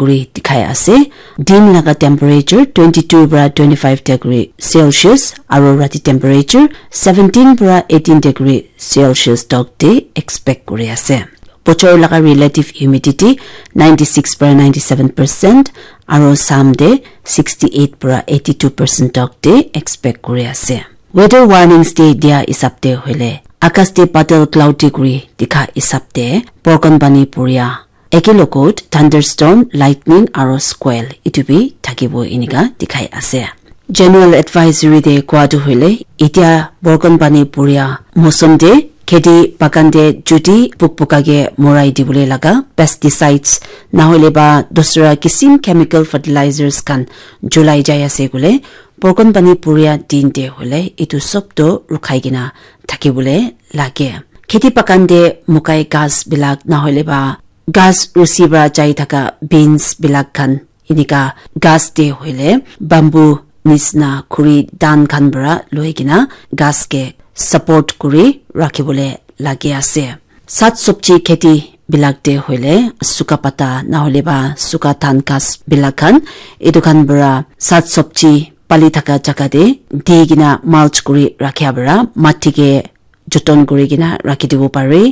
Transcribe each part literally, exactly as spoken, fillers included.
kuri dikhai ase. Din laga temperature twenty-two para twenty-five degree Celsius aro rati temperature seventeen para eighteen degree Celsius tok te expect kuri ase. Bochor laga relative humidity ninety-six para ninety-seven percent aro sam te sixty-eight para eighty-two percent tok te expect kuri ase. Weather warnings te dia hisab te hoile, akas te badal cloudy kuri dikha hisab te borkon pani puria, eke logot thunderstorm, lightning aro squall itu bi thakibo inika dikhai ase. General advisory te kowa tu hoile, itia borkon pani puria mosom te kheti bagan te juti puk puka ke morai dibole laga pesticides nahoile ba dusra kisim chemical fertilizers khan julai jai ase koile, borkon pani puria din te hoile itu sob to rukhai kena thakibole lage. Kheti bagan te mukai ghas bilak nahoile ba ghas rusi para jai thaka beans bilak khan inika ghas te hoile bamboo nisna khuri dan khan para loi kena ghas ke support kuri rakhibole lage ase. Sat sobji kheti bilak te hoile suka pata nahoile ba suka dhan ghas bilak khan itu khan para sat sobji pali thaka jaga te di kena mulch kuri rakhia para mati ke joton kuri kena rakhi dibo pare.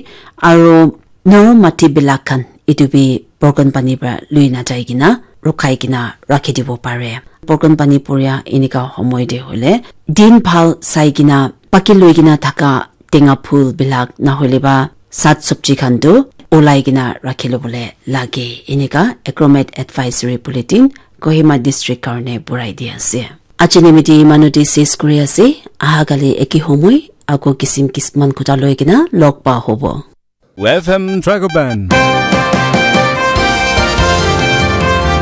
Aro naru mati bilak khan itu bi borkon pani para lui na jai kena rukhai kena rakhi dibo pare. Borkon pani puria inika homoi te hoile din bhal sai kena paki loi kena thaka tenga phul bilak nahoile ba sat sobji khan tu ulai kena rakhi lobole lage. Inika Agromet Advisory Bulletin Kohima District karne burai di ase. Aji nimiti imanu te ses kuri ase. Aha kali eki homoi ako kisim kisman khuta loi kena log pa hobo. F M Dragoban.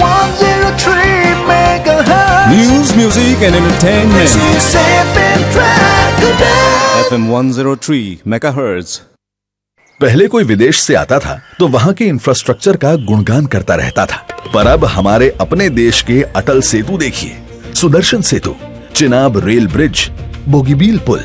One zero three megahertz. News, music and entertainment. This is F M Dragoban. F M one zero three megahertz. पहले कोई विदेश से आता था तो वहां के इंफ्रास्ट्रक्चर का गुणगान करता रहता था, पर अब हमारे अपने देश के अटल सेतु देखिए, सुदर्शन सेतु, चिनाब रेल ब्रिज, बोगीबील पुल,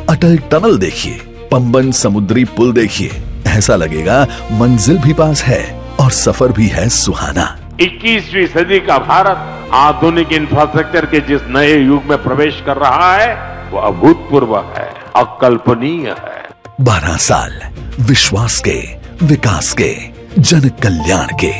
अटल टनल देखिए, पंबन समुद्री पुल देखिए, ऐसा लगेगा मंजिल भी पास है और सफर भी है सुहाना। इक्कीसवीं सदी का भारत आधुनिक इंफ्रास्ट्रक्चर के जिस नए युग में प्रवेश कर रहा है, वो अभूतपूर्व है, अकल्पनीय है। बारह साल विश्वास के, विकास के, जन कल्याण के।